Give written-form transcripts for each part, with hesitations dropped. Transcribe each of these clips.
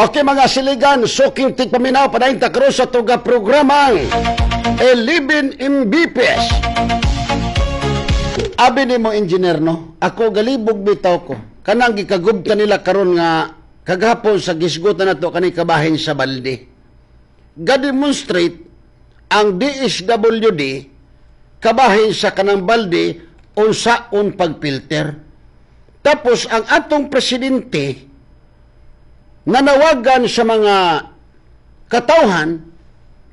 Okay, mga siligan, suking tigpaminaw, padayon ta karon sa tuga programang 11 Mbps. Abi nimo, engineer, no? Ako galibog bitaw ko. Kanang gikagubta nila karon nga kagahapon sa gisgutan nato kani kabahin sa balde. Ga-demonstrate ang DSWD kabahin sa kanang balde unsaon pagfilter. Tapos ang atong presidente nanawagan sa mga katawhan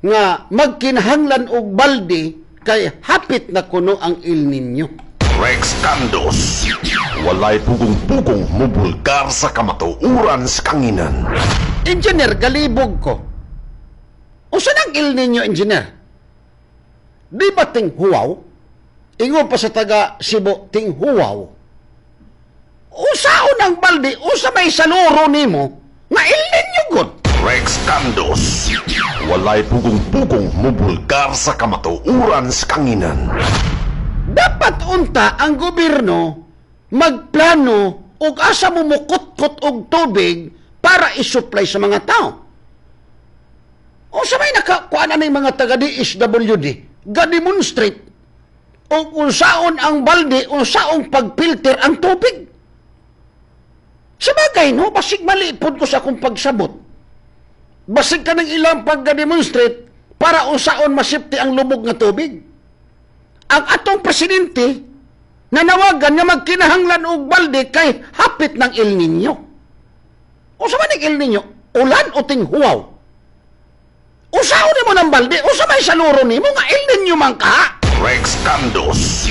nga magkinahanglan og balde kay hapit na kuno ang El Niño. Rex Candos. Walay pugong-pugong mubulgar sa kamatuoran sa kanginan. Engineer, galibog ko. Unsa nang El Niño, engineer? Di ba tinghuwaw? Ingon pa sa taga Cebu, tinghuwaw. Usaon ang balde, usa may saluro nimo nga El Niño gud. Rex Candos. Walay pugong-pugong mubulgar sa kamatuoran sa kanginan. Dapat unta ang gobyerno magplano og asa mo mukutkot og tubig para isupply sa mga tao. O sa may nakakuan na mga taga DSWD, ga-demonstrate og unsaon ang balde, unsaon pagfilter ang tubig. Sa bagay, no, basig mali pod ko sa akong pagsabot. Basig ka ng ilang pagga-demonstrate para unsaon masipti ang lubog nga tubig. Ang atong presidente nanawagan nga magkinahanglan og balde kay hapit ng El Niño. Unsa man ang El Niño? Ulan o tinghuwaw? Usaon nimo ng balde, usa may saluro nimo nga El Niño man ka? Rex Candos.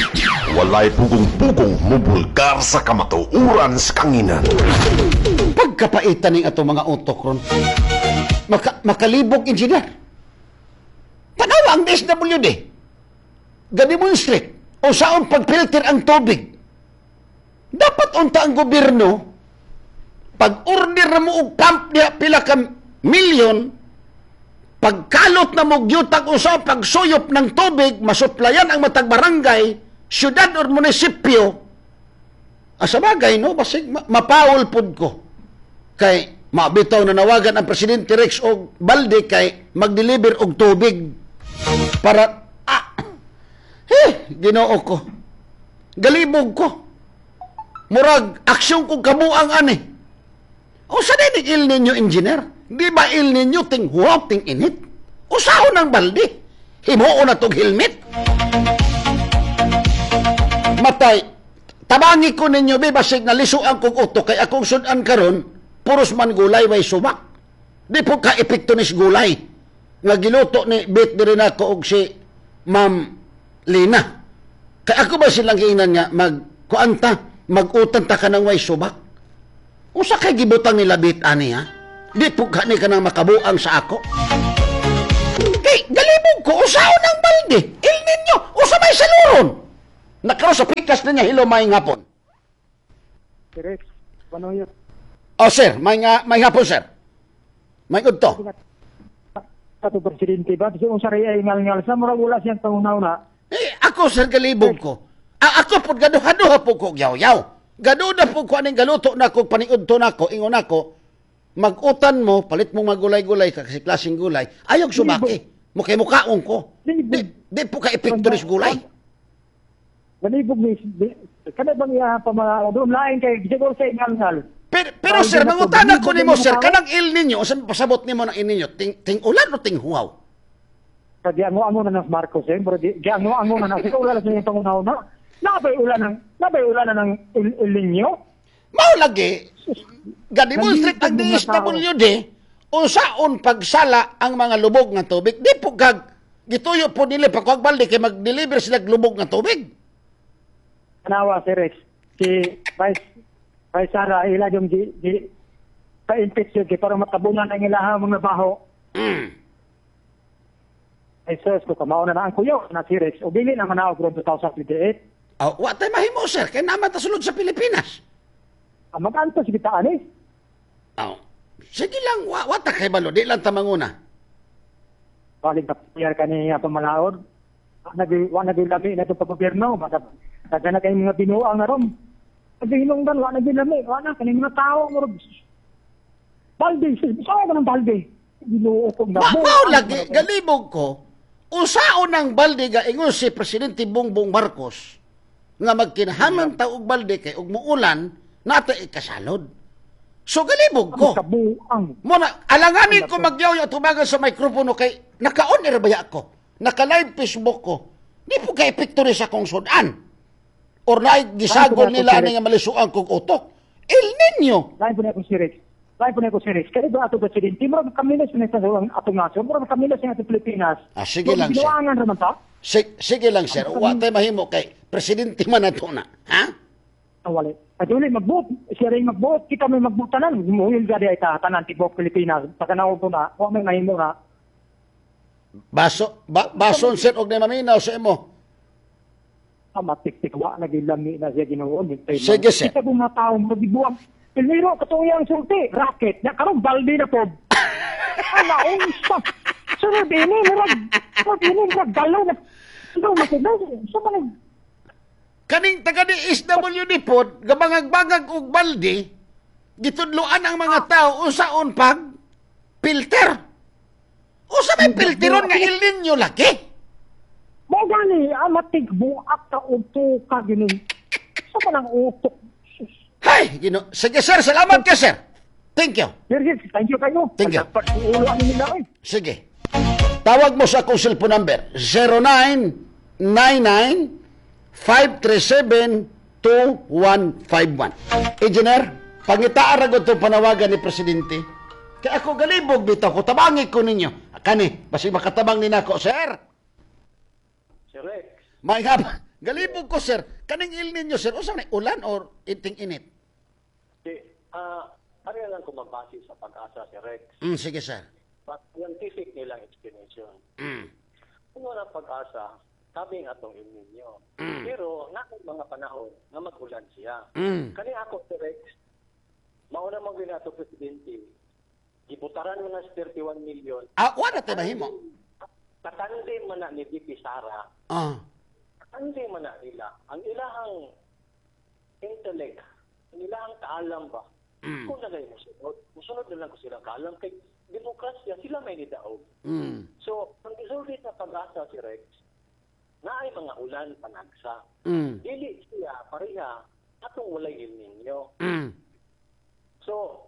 Walay pugong-pugong mubulgar sa kamatuoran sa kanginan. Pagkapaitan ning atong mga utok ron. Makalibog, engineer. Tanawa ang DSWD. Ga-demonstrate unsaon pagfilter ang tubig. Dapat unta ang gobyerno pag-order na mo og pump niya pila ka milyon, pagkalot na mo gyutag unsa pagsuyop ng tubig, masuplayan ang matag barangay, syudad or munisipyo. Asa bagay, no, basig mapawol pud ko. Kay mabitaw na nawagan ang presidente Rex og balde kay mag-deliver og tubig para Ginoo ko. Galibog ko. Murag aksyon kong kabuang ani. O sa din El Niño, engineer? Di ba El Niño ting huwap ting init? Usahon ang balde. Himuon na tog helmet. Matay, tabangi ko ninyo, be, basig na lisuan kong utok kay akong sudan karon puros man gulay way sumak. Di po ka epekto nis gulay. Nga giluto ni Bit diri nako og si Ma'am Lina. Kay ako ba silang giingnan nga magkuanta, mag-utan ta ka ng way subak? Usa kay gibutang nila Bit ani ha? Di po ka ni ka nang makabuang sa ako. Kay galibog ko, usaon ang balde. El Niño, usa may saluron. Nakaroon sa pikas na niya, hello, may hapon. Rex, ano yun? Oh, sir, may hapon, sir. May udto. Kato presidente ba? Kasi kung sari ay ngal-ngal sa murag wala siyang panguna-una. Eh, ako, sir, galibog ko. Ako po, gaduha-duha po ko, yaw-yaw. Gaduha po ko, aning galuto na ko, paniudto na ko, ingon ako, mag-utan mo, palit mong magulay-gulay, kasi klaseng gulay, ayog sumaki. Mukay mukaon ko. Di po ka epekto ris gulay. Galibog ni, kada bang iya pa mga, doon lain kay, siguro sa ngal-ngal. Pero sir, mangutana ko nimo, sir, kanang El Niño, usan pasabot nimo ng El Niño, ting ulan o ting huwaw? Giango-ango na ng Marcos, eh. Pero giango-ango na na. Siguro wala sa iyong panguna-una. Nabay ulan na ng El Niño? Mao lagi, ga-demonstrate ang DSWD, unsaon pagsala ang mga lubog nga tubig. Di po kag, gituyo po nila pagkuhag balde kay mag-deliver sila lubog nga tubig. Tanawa si Rex, si Vice Sara, ila yung di pa-impeach yun, para matabunan ang ilahang mga baho. Ay, sus, kung kamao na ang kuyaw na si Rex, o bili na manaog ron 2028. Oh, wa tay mahimo, sir, kay naman ta sulod sa Pilipinas. Mag-antos kita ani. Oh. Sige lang, wa ta kay balo, di lang ta manguna. Balik ta ka ni pamalaod. Wa nagilami na itong pag-gobyerno, basta na kayong mga binuang na ron. Naghinungdan, wa nagilami, wa na kaning mga tao murag. Balde, saan ka ng balde? Ginoo ko na. Mao lagi galibog ko. Usaon ang balde ga ingon si Presidente Bongbong Marcos nga magkinahanglan ta og balde kay og muulan nata ikasalod. So galibog ko. Kabuang. Muna, alanganin ko magyaw tubagan sa mikropono kay naka-on air baya ako. Naka-live Facebook ko. Di po kay epekto ni sa akong sudan. Or naay gisagol nila ani nga malisuan kog utok. El Nino. Lain po na akong si Rex. Lain po na akong si Rex. Kaya ba ato presidente? Murag kami na siya ang atong nasyon. Murag kami na siya atong Pilipinas. Ah, sige lang, sir. Binuangan raman ta. Sige lang, sir. Wa tay mahimo kay presidente man ato na. Ha? Wala. At uli, magbuot. Siya rin magbuot. Kita may magbuot tanan. Muhil gadi ay ta, tanan, tibok Pilipinas. Pagkanaw ko na, wa may mahimo na. Baso, bason sir og maminaw sa imo. Matik-tik, wa nagilami na siya Ginoo. Sige, sir. Kita kong mga tao, magibuang. Pilmiro, katong iyang sulti, racket. Na, karong balde na po. Ala, unsa. Sunod ini, murag, murag ini, murag galaw na. Galaw na po. Sa mga kaning taga ni SWD pod, gabangag-bangag og balde, gitudloan ang mga tao unsaon pag filter. Unsa may filteron nga El Nino lagi? Mo gani, amatig buak ka og tuka gini. Sa man ang utok. Hay, Ginoo. Sige sir, salamat ka sir. Thank you. Sir, thank you kayo. Thank you. Ulo ani nila oy. Sige. Tawag mo sa akong cellphone number 0999 537-2151. Engineer, pangitaan ra gud tong panawagan ni Presidente. Kaya ako galibog bitaw ko, tabangi ko ninyo. Kani, basig makatabang ni nako, sir. Sir Rex. May hap, galibog ko, sir. Kaning El Nino, sir, unsa man ulan or iting init? Di, ano lang kung magbase sa Pag-asa, Sir Rex. Sige, sir. But scientific nilang explanation. Kung walang Pag-asa, sabi nga atong El Nino. Pero naay mga panahon nga mag-ulan siya. Kani ako, Sir Rex, mauna mo ginato presidente, gibutaran mo na sa 31 million. Ah, wala tayo mahimo. Katande man na ni VP Sara. Katande man na nila. Ang ilahang intellect, ang ilahang kaalam ba? Kung nagay mo sunod, musunod na lang ko sila kaalam. Kay demokrasya, sila may nidaog. So, ang isulti sa Pag-asa si Rex, naay mga ulan panagsa. Dili siya pareha atong walay El Nino. So,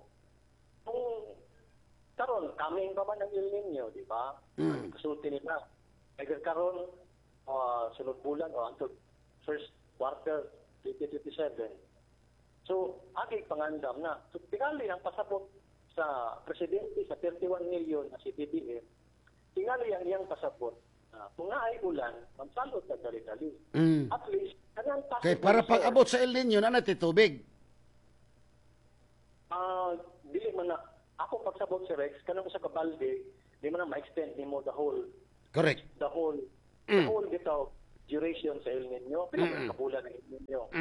kung karon kaming pa man ang El Nino, di ba? Kasulti nila. Kaya karon sunod bulan o until first quarter 2027. So, agi pangandam na. So, tingali ang pasabot sa presidente sa 31 million na si BBM, tingali ang iyang pasabot. Kung naay ulan, magsalot na dali-dali. At least, kanang kay para pag-abot sa El Nino, na natin tubig. Dili man na, ako pagsabot si Rex, kanang sa kabalde, di man na ma-extend nimo the whole. Correct. The whole, the whole bitaw duration sa El Nino. Pila man kabulan ng El Nino.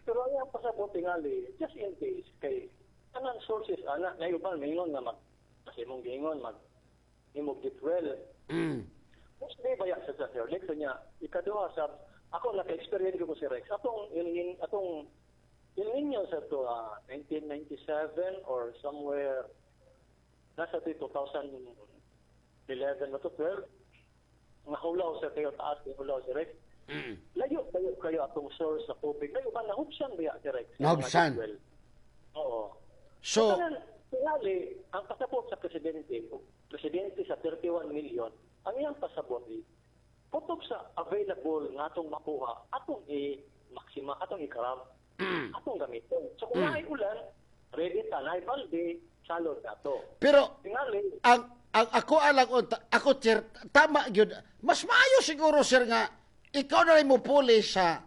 Pero ang iyang pasabot tingali, just in case, kay kanang sources, ana, ngayon ba, maingon nga mag, kasi mong giingon, mag, imog deep well. Mostly ba yan sa Sir Rex niya, ikaduha sa, ako naka-experience ko si Rex, atong El Nino sa to, 1997 or somewhere, nasa to 2011 o to 12, nahulaw sa kayo taas, nahulaw si Rex. Layo kayo atong source sa tubig. Layo ba, nahubsan ba yan si Rex? Nahubsan? Oo. So, tingali, ang pasabot sa presidente, presidente sa 31 million, ang iyang pasabot, putok sa available nga atong makuha, atong i-maxima, atong i-grab, atong gamitin. So kung naay ulan, ready ta, naay balde, salod na to. Pero, tingali, ang ako alang, ako sir, tama yun. Mas maayo siguro sir nga, ikaw na rin mo puli sa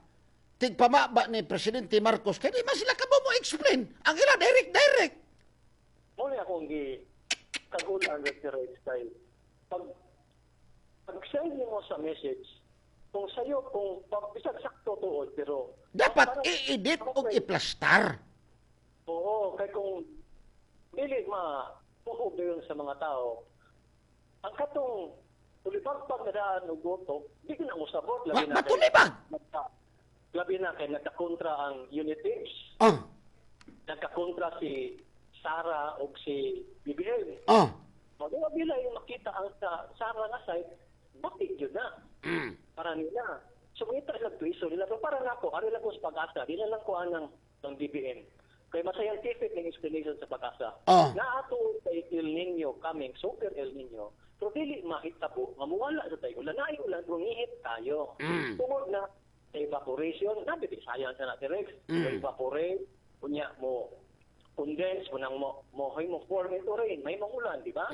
tigpamaba ni Presidente Marcos, kaya di man sila kamo mo explain. Ang ila, direct. Muna akong kagulan with the right style. Pag-send mo sa message, kung sa'yo, kung bisag sakto tuod, pero dapat i-edit o i-plastar. Oo, kaya kung dili ma-puhog yun sa mga tao, ang katong tulibag-pag na daan o goto, di ka na usabot. Matulibag? Labi na kay nagkakontra ang unitives. Nagkakontra si Sara og si BBM. Magawa bila yung makita ang sa Sara nga side, bakit yun na? Para nila. So mangita sila tuiso nila. Pero para nako, ari lang ko sa PAGASA, di na lang ko anang ng BBM. Kay mas scientific ng explanation sa PAGASA. Naato kay El Nino coming, super El Nino. Pero dili mahitabo, mamuwala sa tayo. Ulan na ulan, rumihit tayo. Tungod na sa evaporation, nabi science na natin, Rex. Evaporate, unya mo condense, mo nang mo, mo, mo form into rain, may mong ulan, di ba?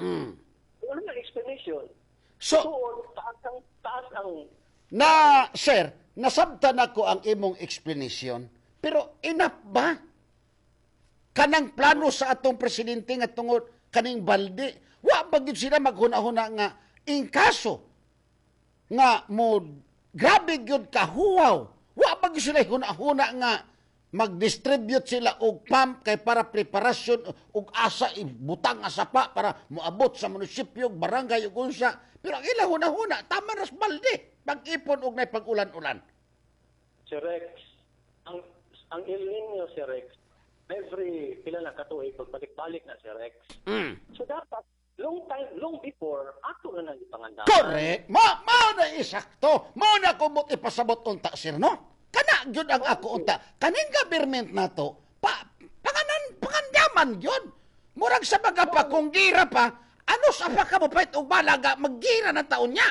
Wala na explanation. So, taas ang na, sir, nasabtan ako ang imong explanation, pero enough ba? Kanang plano sa atong presidente nga tungod kaning balde, wa ba gyud sila maghuna-huna nga in kaso nga mo grabe gyud kahuwaw, wa ba gyud sila huna-huna nga mag-distribute sila og pump kay para preparasyon og asa ibutang nga sapa para moabot sa munisipyo, barangay ug unsa, pero ang ila huna-huna tama ras balde pag-ipon og nay pag-ulan-ulan. Si Rex, ang El Nino, si Rex, every pila na katuig pagbalik-balik na si Rex. So dapat long time, long before ato na nang ipangandaman. Correct. Mao na isakto. Mao na ko mo ipasabot unta, sir, no? Kana gyud ang ako unta. Kaning government nato, pa panganan pangandaman gyud. Murag sa baga pa kung gira pa, ano sa pa ka mo pait og balaga maggira na taon niya.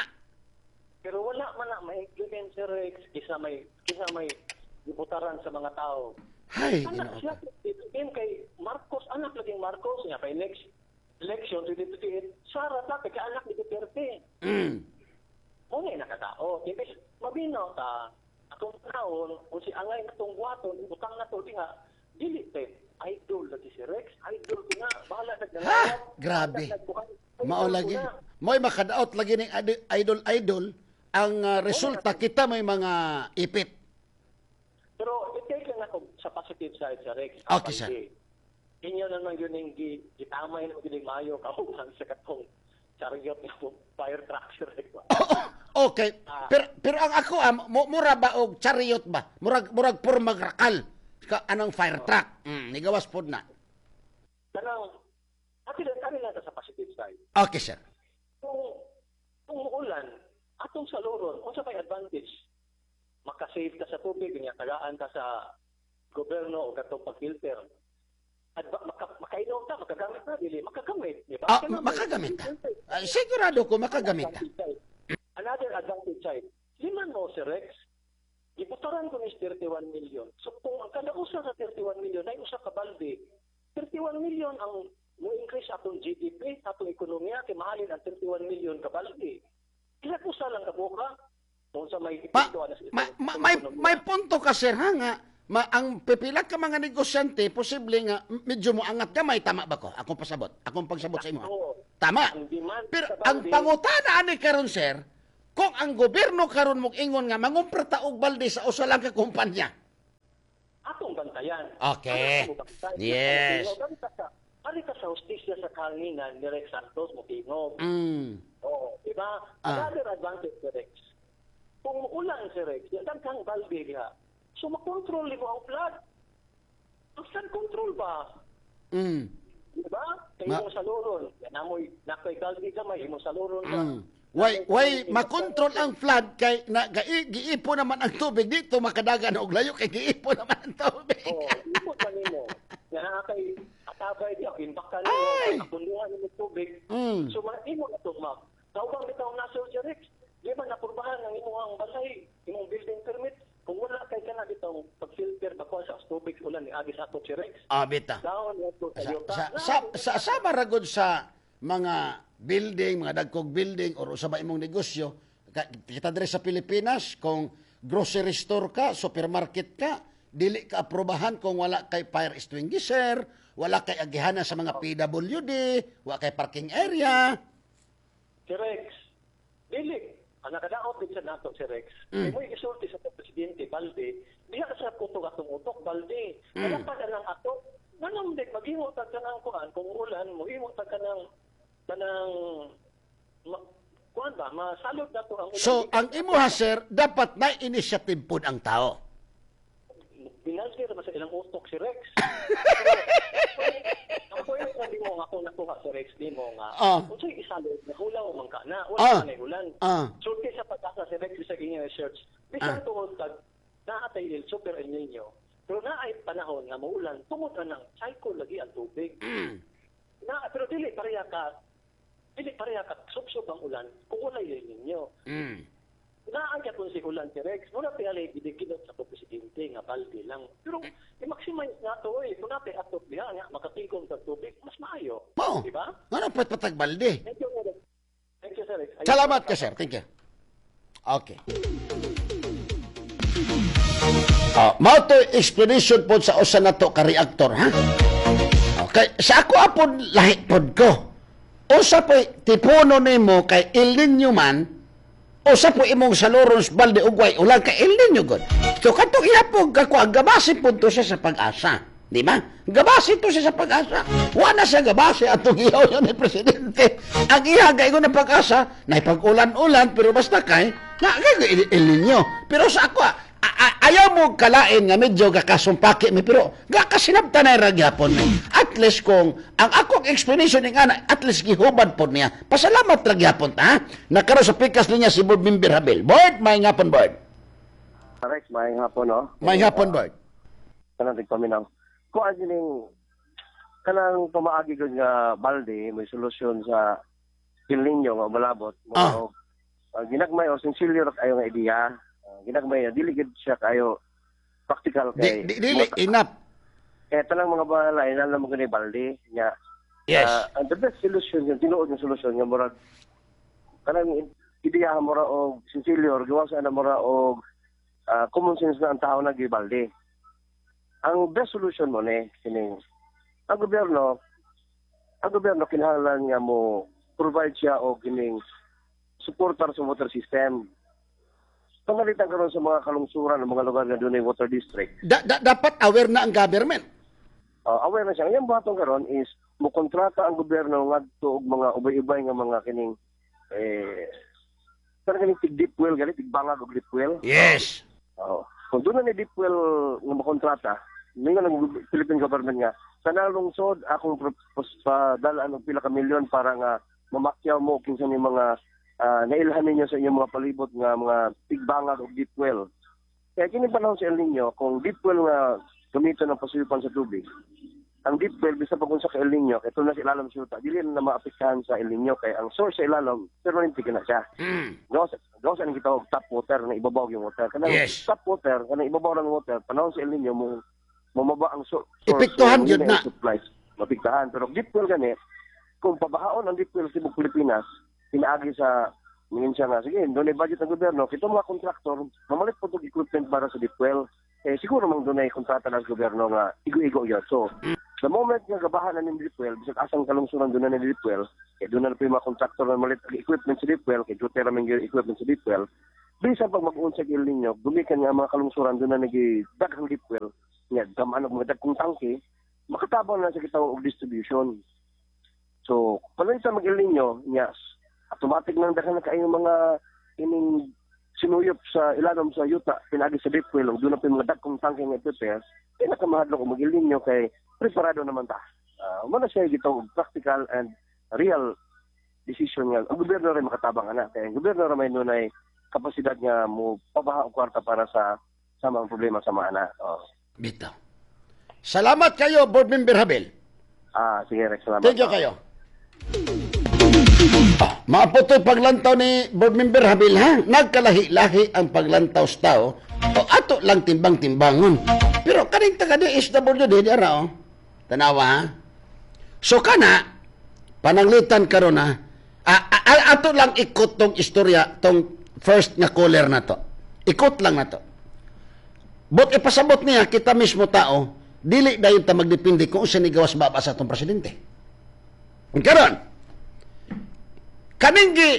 Pero wala man na ma-implement, si Rex, kisa may gibutaran sa mga tao. Hay, Anak Ginoo. siya, BBM kay Marcos, anak laging Marcos niya kay next election 2028, Sara ta kay anak ni Duterte. Mo na nakatao. Imbes mabinaw ta atong taon kung si angay natong buhaton, ibutang na to nga dili te idol lagi si Rex, idol ko nga bahala sa Ha? Grabe. Mao lagi. Mo'y makadaot lagi ning idol idol ang resulta kita may mga ipit. Pero i-take lang ako sa positive side sa Rex. Okay, sir. Inyo naman yun yung gitamay na yun yung mayo kauban sa katong chariot nga mo fire truck si Rex. Okay. Pero pero ang ako mura ba og chariot ba? Murag purmag rakal ka anong fire truck. Nigawas pod na. Kanang ati lang kami lang sa positive side. Okay, sir. Kung muulan, atong saluron, unsa may advantage? Makasave ka sa tubig, nya tagaan ka sa gobyerno o katong pag-filter. Makainom ka, makagamit na, dili, makagamit, di ba? Ah, makagamit ka. Ah, sigurado ko makagamit ka. Another advantage side, liman mo si Rex, gibutaran ko ni 31 million. So kung ang kada usa sa 31 million ay usa ka balde, 31 million ang mo increase atong GDP, atong ekonomiya, kay mahalin ang 31 million ka balde. Kila usa lang kabuka kung sa may Pa, epekto ana sa ma, ma, may, ekonomiya. may punto ka, sir, ha, nga ang pipila ka mga negosyante posible nga medyo mo angat gamay, tama ba ko? Akong pasabot, akong pagsabot sa imo. Oo. Tama. Ang demand Pero sa ang balde- pangutana ani karon, sir, kung ang gobyerno karon mo ingon nga mangumpra ta og balde sa usa lang ka kumpanya. Atong bantayan. Okay. Atong bantayan. Yes. Ari ka sa hustisya sa kahanginan ni Rex Santos mo tingog. Oo, di ba? Ah. Another advantage si Rex. Kung muulan si Rex, yan kang balde diha. So makontrol mo ang flood. Ang flood control ba? Di ba? Kay imong saluron. Yan amoy nakoy balde gamay imong saluron ka. Why makontrol ang flood kay na giipo naman ang tubig dito makadagan og layo kay giipo naman ang tubig. Oo, ipon pa nimo. Nga naa kay atabay diha imbakan Ay! nimo, apunduhan nimo tubig. So imo na to ma'am. Kaubang bitaw na si Rex, di ba napurbahan ang imong balay, imong building permit? Kung wala kay kana bitaw pag-filter ba sa tubig ulan ni agi sa ato si Rex. Ah, bita. Down to Sa Toyota. sa maragod sa mga building, mga dagkog building or usa ba imong negosyo, kita diri sa Pilipinas kung grocery store ka, supermarket ka, dili ka aprobahan kung wala kay fire extinguisher, wala kay agihanan sa mga PWD, wala kay parking area. Si Rex, dili ang nakadaot din sa nato si Rex. Kay mo'y gisulti sa presidente Balde, diha sa kutob atong utok Balde. Wala pa ka ng ato. Manong dik maghimo tag kanang kuan kung ulan mohimo tag kanang kanang kuan ba masalod na to ang ulan. So, ang imuha, sir, dapat na initiative pod ang tao. Binaldi ra ba sa ilang utok si Rex. Pero, ang Point na di mo nga ako nakuha sa Rex di mo nga. Unsay isalod na hulaw man ka na wala ka na ulan. Sulti sa Pag-asa si Rex sa inyong research. Bisan tungod kag naa tay El Super El Niño, pero naay panahon nga maulan tungod anang cycle lagi ang tubig. Na pero dili pareha ka subsob ang ulan kung walay El Niño. Naa gyapon si ulan si Rex, muna tingali gidiginot sa presidente nga balde lang. Pero i-maximize na to eh. Kung natin atop diha nga makatigom sa tubig, mas maayo. Mao. Di ba? Ngano pat patag balde? Thank you, Rex. Thank you, Sir Rex. Ayun. Salamat ka, sir. Thank you. Okay. Mao to explanation po sa usa nato ka reactor, ha? Okay, sa ako apod lahi pod ko. Usa po tipuno nimo kay El Niño man, usa po imong saluron sa balde ugway ulan kay El Niño god. So katong ihapog kako ang gabase pud to siya sa Pag-asa. Di ba? Gabase to siya sa Pag-asa. Wa na siya gabase atong ihaw yun ni presidente. Ang iha kay na Pag-asa, naipag-ulan-ulan pero basta kay na kay El Niño. Pero sa ako ayaw mo kalain nga medyo gakasumpaki mi pero gakasinabtan na ra gyapon mi. At least kung ang akong explanation ning ana at least gihubad pod niya. Pasalamat ra gyapon ta. Ha? Nakaroon sa pikas linya si Board Member Habel. Board, may hapon, Board. Rex, maayong hapon, no? May hapon, Board. Kanang tigpaminaw. Kung ano ning kanang pamaagi gud nga balde may solusyon sa El Niño nga umalabot mo ginagmay o sinsilyo ra kayo nga ideya. Ginagmay dili gid siya kayo practical kay Di, dili enough. Kaya tanang mga balay na mo gani balde nya. Ang the best solution yung tinuod nga solusyon nga murag kanang ideya mura og sinsilyo or gawa sa na mura og common sense na ang tao nagibalde. Ang best solution mo ni kining ang gobyerno kinahanglan nga mo provide siya og kining suportar sa water system. Pangalitan karon sa mga kalungsuran ng mga lugar nga dunay water district. Dapat aware na ang government. Aware na siya. Ang iyang buhaton karon is mo kontrata ang gobyerno ngadto og mga ubay-ubay nga mga kining kanang kining tig deep well gani, tig bangag og deep well. Oo. Kung doon na ni deep well nga makontrata, ningon ang Philippine government nga sa lungsod akong padalaan og pila ka milyon para nga mamakyaw mo kinsa ni mga nailhan ninyo sa inyong mga palibot nga mga tigbangag og deep well. Kaya kini panahon sa El Niño, kung deep well nga gamiton ng pasuyupan sa tubig, ang deep well, bisa pa kung sa El Niño, ito na sa ilalom sa yuta, dili na maapektuhan sa El Niño, kay ang source sa ilalom, permanente na siya. Gawas gawas ang gitawag tap water na ibabaw yung water. Kanang tap water, kanang ibabaw ng water, panahon sa El Niño mo mamaba ang source. Epektuhan so, yun na. Yung supplies, mapiktahan. Pero deep well gani, kung pabahaon ang deep well sa tibok Pilipinas, pinaagi sa mingin siya nga, sige, doon ay budget ng gobyerno, kito mga kontraktor, mamalit po itong equipment para sa deep well, eh, siguro mang doon ay kontrata ng gobyerno nga igo-igo yun. So, the moment nga gabahan na ng deep well, bisag asang kalungsuran doon na ng deep well, kaya doon na po yung mga kontraktor na malit ang equipment sa deep well, kay duty ramen yung equipment sa deep well, bisan pag mag-unsag El Niño, gumikan nga ang mga kalungsuran doon na nag-daghang deep well, nga gamaan og mga dagkong tangke, makatabang na sa kitawag og distribution. So, panahon sa mag El Niño, yes, automatic nang daghan na kayo mga ining sinuyop sa ilalom sa yuta, pinagi sa deep well, ug doon na po yung mga dagkong tangke nga i-prepare, pinakamahadlok og mag El Niño kay preparado naman ta. Mo na siya gitawag practical and real decision nga ang gobyerno rin makatabang ana kay ang gobyerno ra may nunay kapasidad nga mo pabaha og kwarta para sa mga problema sa mga ana. Oh. Bitaw. Salamat kayo, Board Member Habel. Sige Rex, salamat. Thank you kayo. Maaputoy paglantaw ni Board Member Habil, ha? Nagkalahi-lahi ang paglantaw sa tao. O ato lang timbang-timbangon. Pero kaning taga DSWD di ara oh. Tanawa ha. So kana pananglitan karon ha. Ato lang ikot tong istorya tong first nga caller na to. Ikot lang na to. But ipasabot niya kita mismo tao, dili dayon ta magdepende kung unsa ni gawas baba sa atong presidente. Karon, kaning gi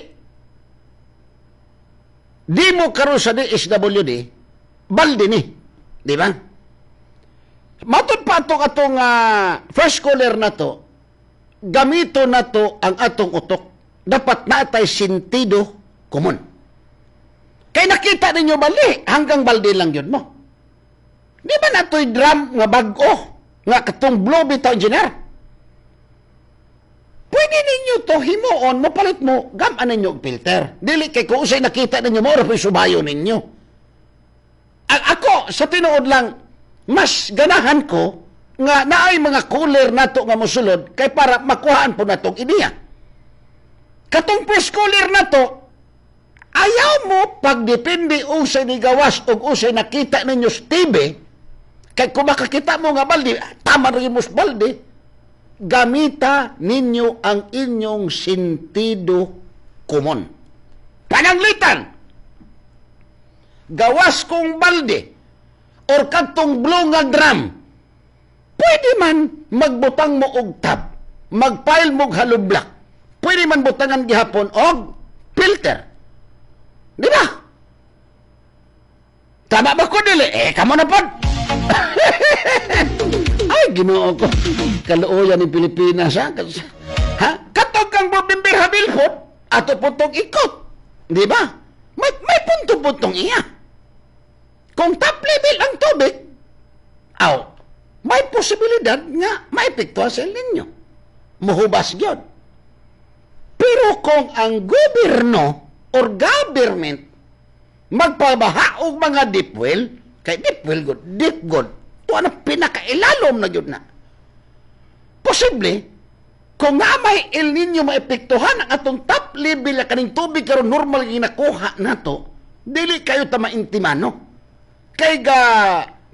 di mo karon sa DSWD, balde ni. Di ba? Matod pa atong atong first caller na to, gamito na to ang atong utok. Dapat natay sentido komon. Kay nakita ninyo bali, hanggang balde lang yun mo. Di ba natoy drum nga bag-o nga katong blue bitaw, engineer? ninyo to himuon, mopalit mo, gamaan ninyo og filter. Dili kay kung usay nakita ninyo, mao ra po'y subayo ninyo. Ang ako, sa tinuod lang, mas ganahan ko nga naay mga cooler nato nga mosulod kay para makuhaan po natong ideya. Katong press cooler nato, ayaw mo pagdepende usay ni gawas og usay nakita ninyo sa TV, kay kung makakita mo nga balde, tama rin mo sa balde, gamita ninyo ang inyong sentido komon. Pananglitan, gawas kong balde or kadtong blue nga drum, pwede man magbutang mo og tab, magpile mo og hollow block, pwede man butangan gihapon og filter. Di ba? Tama ba ko dili? Eh, kamo na pod. Ay, Ginoo ko. Kaluoyan ni Pilipinas, ha? Ha? Katong kang Board Member Habil pod, ato po tong ikot. Di ba? May punto-puntong iya. Kung top level ang tubig, aw, may posibilidad nga maepektuhan sa ninyo. Muhubas gyud. Pero kung ang gobyerno or government magpabaha og mga deep well, kay deep well good, deep good, tuwa na pinakailalom na gyud na. Posible, kung nga may El Niño maepektuhan ang atong top level na kaning tubig karon normal ginakuha nato, dili kayo ta maintimano. Kay ga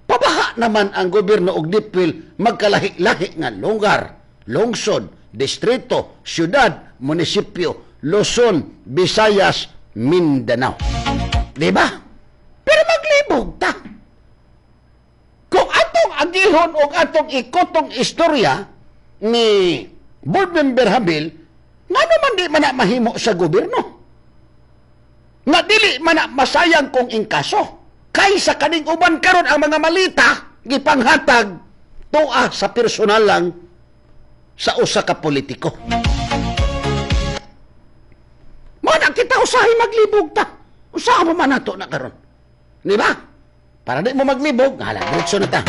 pabaha naman ang gobyerno og deep well magkalahi-lahi nga lugar, lungsod, distrito, syudad, munisipyo, Luzon, Visayas, Mindanao. Di ba? Pero maglibog ta. Kung atong agihon o atong ikotong istorya ni Board Member Habil, nga naman di man na mahimo sa gobyerno. Nga dili man na masayang kung inkaso. Kaysa kaning uban karon ang mga malita gipanghatag tuwa sa personal lang sa usa ka politiko. Mana kita usahay maglibog ta. Usaha mo man nato na karon. Di ba? Para di mo maglibog, hala, diretso na ta.